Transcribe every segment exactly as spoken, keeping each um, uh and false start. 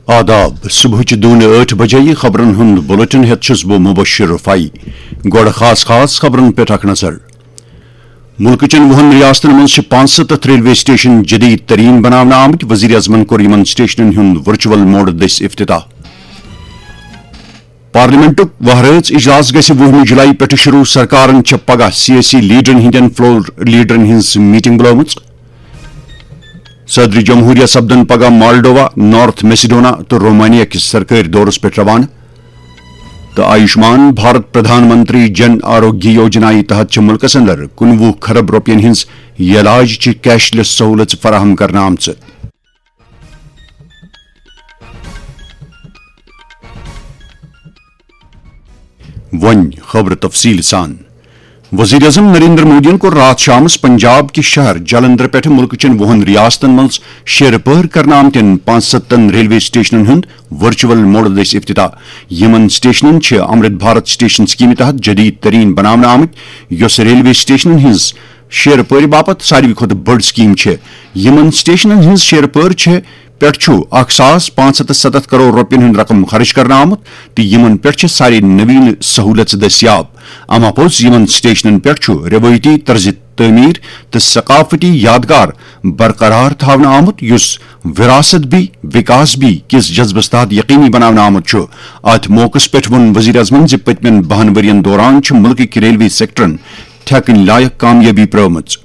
آداب، صبحٕچ دونہِ ٲٹھ بجے خبرن ہُنٛد بلیٹن ہیتھ چھُس بہٕ مبشر رفاعی۔ گۄڈٕ خاص خاص خبرن پٮ۪ٹھ اکھ نظر۔ مُلکہٕ چٮ۪ن وُہن ریاستن منٛز چھِ پانٛژستتھ ریلوے سٹیشن جدید ترین بناونہٕ آمٕتۍ، وزیر اعظمن کوٚر یِمن سٹیشنن ہُنٛد ورچوئل موڈ دٔسۍ افتتاح۔ پارلیمنٹُک وہرٲژ اجلاس گژھِ وُہمہِ جولائی پٮ۪ٹھٕ شروع، سرکارن چھےٚ پگاہ سیٲسی لیڈرن ہٕنٛدٮ۪ن فلور لیڈرن ہٕنٛز میٹنگ بُلٲومٕژ۔ صدر جمہوریہ سپدن پگاہ مالڈووا، نارتھ میسیڈونا تہٕ رومانیا کِس سرکٲرۍ دورس پٮ۪ٹھ روانہٕ۔ تہٕ آیوشمان بھارت پردھان منتری جن آروگیہ یوجنا یہِ تحت چھِ مُلکس اندر کُنوُہ کھرب رۄپین ہٕنٛز یہِ علاج چہِ کیش لیس سہوٗلژ فراہم کرنہٕ آمژٕ۔ وۄنۍ خبرٕ تفصیٖل سان۔ وزیر اعظم نریندر مودیَن کوٚر راتھ شامس پنجاب کِس شہر جلندر پٮ۪ٹھٕ مُلکہٕ چٮ۪ن وُہن ریاستن منٛز شیرٕ پٲر کرنہٕ آمتٮ۪ن پانٛژستتھن ریلوے سٹیشنن ہُنٛد ورچوئل موڈ دٔسۍ افتتاح۔ یِمن سٹیشنن چھِ امرت بھارت سٹیشن سکیمہِ تحت جدید ترین بناونہٕ آمٕتۍ، یۄس ریلوے سٹیشنن ہٕنٛز شیرٕ پٲرِ باپتھ ساروی کھۄتہٕ بٔڑ سکیٖم چھےٚ۔ یِمَن سٹیشنَن ہٕنٛز شیرٕ پٲرِ چھےٚ پٮ۪ٹھ چھُ اکھ ساس پانٛژھ ہتھ تہٕ ستتھ کرور رۄپیَن ہُنٛد رقم خرٕچ کرنہٕ آمُت تہٕ یِمَن پٮ۪ٹھ چھِ سارے نویٖن سہوٗلژ دٔستیاب۔ اما پوٚز یِمَن سٹیشنَن پٮ۪ٹھ چھُ رٮ۪وٲیتی طرزِ تعمیٖر تہٕ ثقافتی یادگار برقرار تھاونہٕ آمُت، یُس وراثت بھی وکاس بھی کِس جذبس تحت یقینی بناونہٕ آمُت چھُ۔ اتھ موقعس پٮ۪ٹھ ووٚن وزیر اعظمن زِ پٔتمٮ۪ن بَہَن ؤرین دوران چھِ مُلکٕکۍ ریلوے سیکٹرن ٹھیکٕنۍ لایق کامیٲبی پرٲومٕژ۔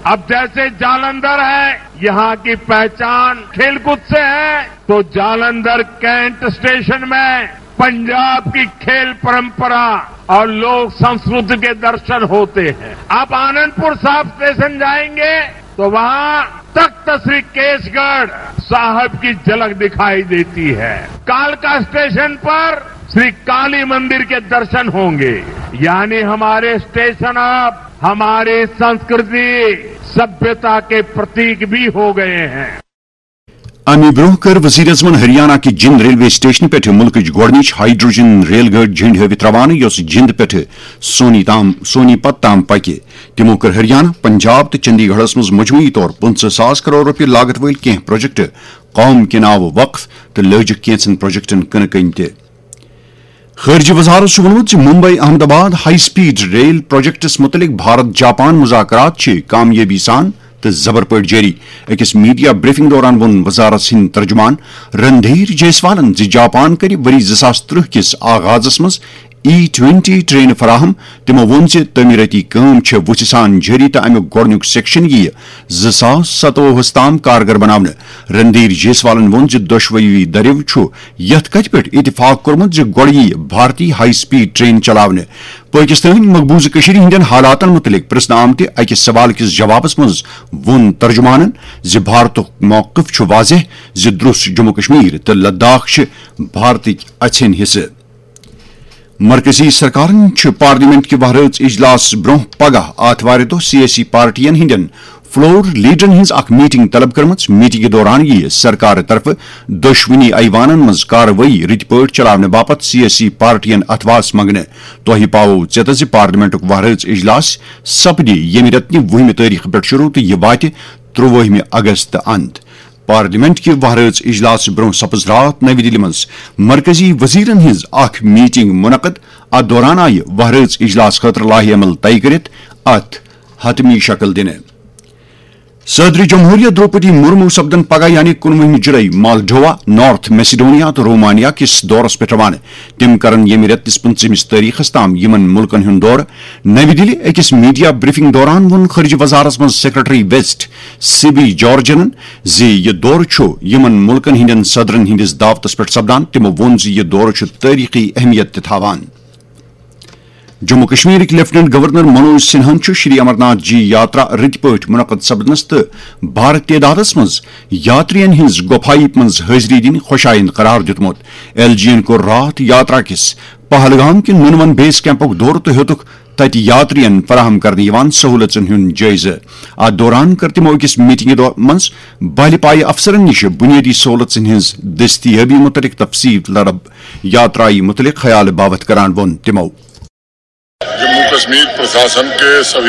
اب جیسے جالندھر ہے، یہاں کی پہچان کھیل کود سے ہے، تو جالندھر کینٹ اسٹیشن میں पंजाब की खेल परंपरा और लोक संस्कृति के दर्शन होते हैं। आप आनंदपुर साहब स्टेशन जाएंगे तो वहां तख्त श्री केसगढ़ साहब की झलक दिखाई देती है। कालका स्टेशन पर श्री काली मंदिर के दर्शन होंगे। यानी हमारे स्टेशन अब हमारी संस्कृति, सभ्यता के प्रतीक भी हो गए हैं। اَمہِ برٛونٛہہ کٔر وزیر اعظمن ہریانہ کہِ جِنٛد ریلوے سٹیشنہٕ پٮ۪ٹھٕ مُلکٕچ گۄڈٕنِچ ہائیڈروجن ریل گٲڑۍ جھنڈ ہٲوِتھ روانہٕ، یۄس جِنٛد پٮ۪ٹھٕ سونی تام، سونی پت تام پکہِ۔ تِمو کٔر ہریانہ، پنجاب تہٕ چندی گڑھس منٛز مجموعی طور پٕنٛژٕہ ساس کرور رۄپیہِ لاگت وٲلۍ کینٛہہ پروجیکٹ قوم کہِ ناوٕ وقف تہٕ لٲجِکھ کینٛژن پروجیکٹن کٕنہٕ کٔنۍ تہِ۔ خارجہ وزارت چھُ ووٚنمُت زِ ممبئی احمد آباد ہائی سپیڈ ریل پروجیکٹس متعلق بھارت جاپان مذاکرات چھِ کامیٲبی سان تہٕ زبر پٲٹھۍ جٲری۔ أکِس میڈیا بریفنگ دوران ووٚن وزارت سٕنٛدۍ ترجمان رندھیر جیسوالن زِ جاپان کَرِ ؤری زٕ ساس ترٕٛہ کِس آغازس منٛز ای ٹوینٹی ٹرینہٕ فراہم۔ تِمو ووٚن زِ تعمیٖرٲتی کٲم چھےٚ وُژھِ سان جٲری تہٕ اَمیُک گۄڈٕنیُک سیکشن یِیہِ زٕ ساس ستووُہس تام کارگر بناونہٕ۔ رندھیر جیسوالن ووٚن زِ دۄشوٕیی دٔریو چھُ یَتھ کَتھِ پٮ۪ٹھ اتفاق کوٚرمُت زِ گۄڈٕ یِیہِ بھارتی ہائی سپیڈ ٹرین چلاونہٕ۔ پٲکِستٲنۍ مقبوضہٕ کٔشیٖرِ ہٕنٛدٮ۪ن حالاتن مُتعلِق پرٛژھنہٕ آمتہِ اَکہِ سوال کِس جوابس منٛز ووٚن ترجمانن زِ بھارتُک موقف چھُ واضح زِ درٛوس جموں کشمیر تہٕ لداخ چھِ بھارتٕکۍ اَژھٮ۪ن حصہٕ۔ مرکزی سرکارن چھُ پارلیمنٹ کہِ وہرٲژ اجلاس برٛونٛہہ پگاہ آتھوارِ دۄہ سیٲسی پارٹین ہٕنٛدٮ۪ن فلور لیڈرن ہٕنٛز اکھ میٹنگ طلب کٔرمٕژ۔ میٹنگہِ دوران یِیہِ سرکارٕ طرفہٕ دۄشوٕنی ایوانن منٛز کاروٲیی رٕتۍ پٲٹھۍ چلاونہٕ باپتھ سیٲسی پارٹین اتھواس منٛگنہٕ۔ تۄہہِ پاوو ژیتس زِ پارلیمنٹُک وہرٲژ اجلاس سپدِ ییٚمہِ رٮ۪تہٕ کہِ وُہمہِ تٲریخہٕ پٮ۪ٹھ شروع تہٕ یہِ واتہِ ترٛوُہمہِ اگست اند۔ پارلیمنٹ کہِ وہرٲژ اجلاس برٛونٛہہ سپٕز راتھ نَوِ دِلہِ منٛز مرکزی وزیرن ہٕنٛز اکھ میٹنگ منعقد۔ اتھ دوران آیہِ وہرٲژ اجلاس خٲطرٕ لایحہ عمل طے کٔرِتھ اتھ حتمی شکل دِنہٕ۔ صدر جمہوریہ دروپدی مرمو سپدن پگاہ یعنی کُنوُہمہِ جولائی مالڈووا، نارتھ میسیڈونیا تہٕ رومانیا کِس دورس پٮ۪ٹھ روانہٕ۔ تِم کرن ییٚمہِ رٮ۪تہٕ کِس پٕنٛژٕہمِس تٲریخس تام یِمن مُلکن ہُنٛد دورٕ۔ نَوِ دِلہِ أکِس میڈیا بریفنگ دوران ووٚن خارجہ وزارت منٛز سیکرٹری ویسٹ سبی جارجنن زِ یہِ دورٕ چھُ یِمن مُلکن ہٕنٛدٮ۪ن صدرن ہٕنٛدِس دعوتس پٮ۪ٹھ سپدان۔ تِمو ووٚن زِ یہِ دورٕ چھُ تٲریخی اہمیت تہِ تھاوان۔ جموں کشمیرٕکۍ لیفٹیننٹ گورنر منوج سنہاہن چھُ شری امرناتھ جی یاترا رٕتۍ پٲٹھۍ منعقد سپدنس تہٕ بھارٕ تعدادس منٛز یاترین ہٕنٛز گۄپھایہِ منٛز حٲضری دِنۍ خۄشایند قرار دیُتمُت۔ ایل جی ین کوٚر راتھ یاترا کِس پہلگام کہِ نُنون بیس کیمپُک دورٕ تہٕ ہیوٚتُکھ تَتہِ یاترین فراہم کرنہٕ یِوان سہوٗلژن ہُنٛد جٲیزٕ۔ اتھ دوران کٔر تِمو أکِس میٹنگہِ دو-، منٛز بہلہِ پایہِ افسرن نِش بُنیٲدی سہوٗلژن ہٕنٛز دٔستیٲبی مُتعلق تفصیٖل طلب۔ یاترایہِ مُتعلق خیال باوتھ کران ووٚن تِمو۔ जम्मू कश्मीर प्रशासन के सभी